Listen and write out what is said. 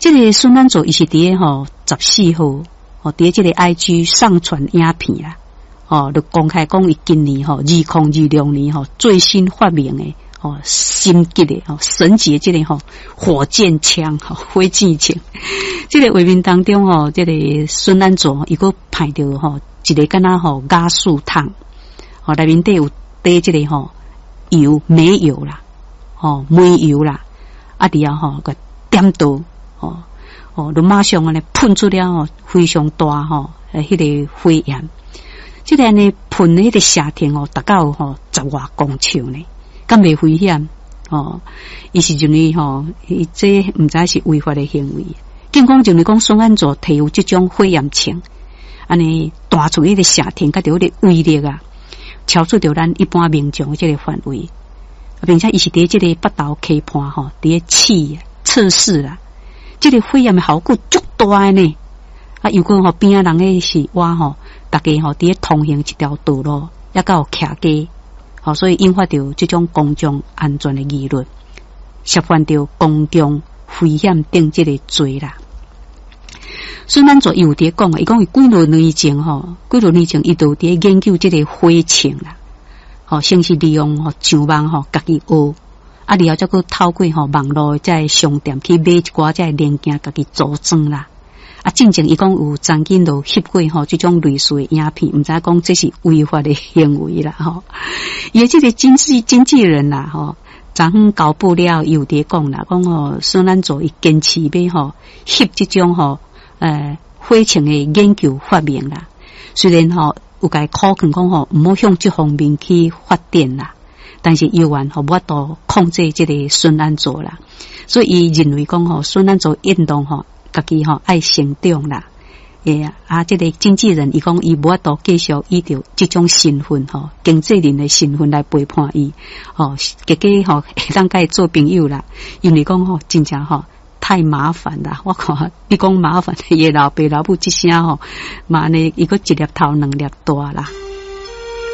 這个孫安祖伊是佇个吼14號吼，佇這个 IG 上傳影片啦，吼，就公開講伊今年吼2026年吼最新發明的吼升級的吼神級的這个吼火箭槍吼火箭槍。這个畫面當中吼，這个孫安祖伊閣歹著吼一个敢若吼瓦斯桶，吼內面底有滴這个吼油煤油啦，吼煤油啦，啊佇遐吼閣點著，吼吼，就馬上按呢噴出了吼非常大吼，彼个火焰。這個按呢噴彼个射程哦，達到吼十外公尺呢，敢袂危險？吼，伊是認為吼，伊這毋知是違法的行為。警方認為講孫安祖提有這種火焰槍，按呢彈出彼個射程，佮著彼个威力啊，超出著咱一般民眾的這個範圍，並且伊是佇這个北投溪畔吼，佇咧試測試啦。這个火焰的效果足大的呢，啊，如果吼邊仔人彼是倚吼，逐家吼佇咧通行一條道路，抑閣有徛街，吼，所以引發著這種公眾安全的疑慮，涉犯著公共危險等這个罪啦。孫安祖伊有佇咧講，伊講伊幾若年前吼，幾若年前伊就佇咧研究這个火槍啦，吼，先是利用吼上網吼家己學，啊，然後才閣透過吼網路的這个商店去買一寡這个零件，家己組裝啦。啊，進前伊講有曾經都翕過吼這種類似的影片，毋知講這是違法的行為啦吼。伊的這个經紀人啦吼，昨昏交報了，伊有佇咧講啦，講吼孫安祖伊堅持欲吼翕這種吼火槍的研究發明啦。雖然吼有共伊苦勸講吼毋好向這方面去發展啦，但是猶原吼無法度控制這个孫安祖啦，所以伊認為講吼孫安祖應當吼家己吼愛成長啦，會啊，這个經紀人伊講伊無法度繼續以著這種身份吼，經紀人的身份來陪伴伊，吼，結果吼會當共伊做朋友啦，因為講吼真正吼太麻煩啦，我看你講麻煩，伊的老爸老母這聲吼，嘛按呢伊閣一粒頭兩粒大啦。